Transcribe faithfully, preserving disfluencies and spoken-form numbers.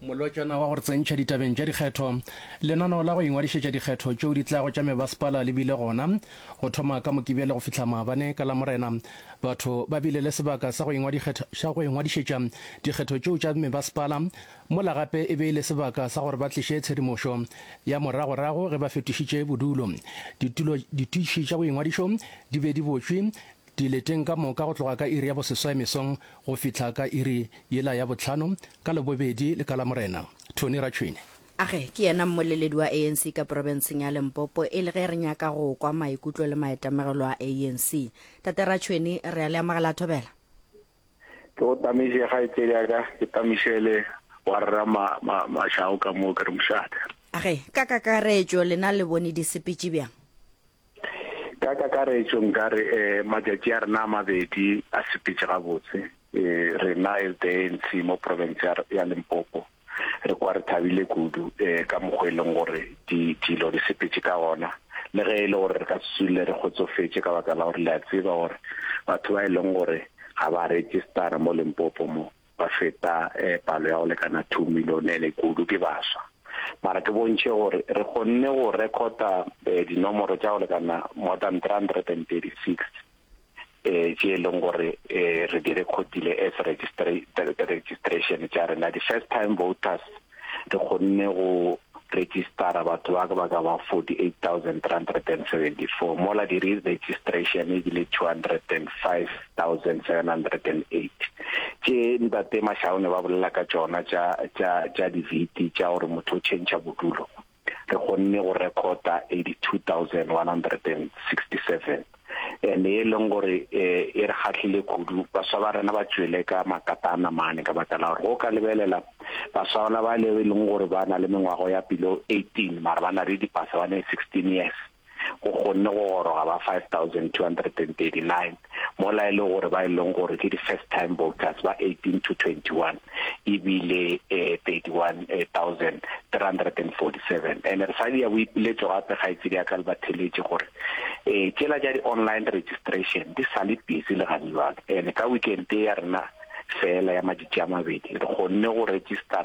Molotšana wa go re tsentšha ditabeng tša dikgetho. Lenaneo la go ingwadišetša dikgetho tšeo di tlago tša mebasepala le bile gona go thoma ka Mokibelo go fihla maabane ka Lamorena. Batho ba bile le sebaka sa go ingwadišetša dikgetho tšeo tša mebasepala, mola gape e be e le sebaka sa gore ba tliše tshedimošo ya moragorago ge ba fetošitše bodulo. Ditulo ditiši tša boingwadišo di be di botšwe dileteng ka moka go tloga ka iri ya boseswai mesong go fihla ka iri yela ya bohlano ka Labobedi le ka Lamorena. Tony Ratšhwene. Age, ke yena mmoleledi wa A N C ka profenseng ya Limpopo, e le ge re nyaka go kwa maikutlo le maitemogelo a A N C. Tate Ratšhwene, re a le amogela, thobela. Ke go tamiše, kgaetsedi ya ka, ke tamišele wa rra Mašao ka moo, ke re mošate. Age, ka kakaretšo lena le bone di sepetše bjang? Ka kakaretšo nka re um matšatši a rena a mabedi a sepetše gabotse. um rena as the A N C mo province ya Limpopo re kwa re thabile kudu um ka mokgwa e leng gore dilo di sepetše ka gona, le ge e le gore re ka se dule re kgotsofetše ka baka la gore le a tseba gore batho ba e leng gore ga ba registera mo Limpopo mo ba feta um palo ya go lekana two million, ene kudu ke baswa. Mara ke bontšhe gore re kgonne go recorda um dinomoro tša go lekana more than three hundred and thirty six um tše e leng gore um re di recordile as registration tša rena. Di-first time voters re kgonne go registera batho ba ba ka ba forty-eight thousand three hundred and seventy-four, mola di-re-registration ebile two hundred and five thousand seven hundred and eight. Tše ntate Mašaone ba bolela ka tšona tša tša tša di-V T, tša gore motho o change bodulo, re kgonne go recorda eighty-two thousand one hundred and sixty-seven, and e leng gore e re kgahlile kudu. Baswa ba rena ba tšwele ka makatana mane, ka baka la gore go ka lebelela baswa ba ba le leng gore ba na le mengwago ya below eighteen mara ba na le dipasa, ba ne sixteen years, go kgonne go goroga ba five thousand two hundred and thirty-nine, mola e le gore ba e leng gore ke di-first time voters ba eighteen to twenty-one ebile eh, thirty-one thousand three hundred and forty-seven. And re sa dia boipiletšo gape, kgaitsedi ya ka le batheletše, gore um tšela tša di-online registration di sa le busy le gane jwale, and ka weekend ya rena fela ya matšatši a mabedi re kgonne go registera.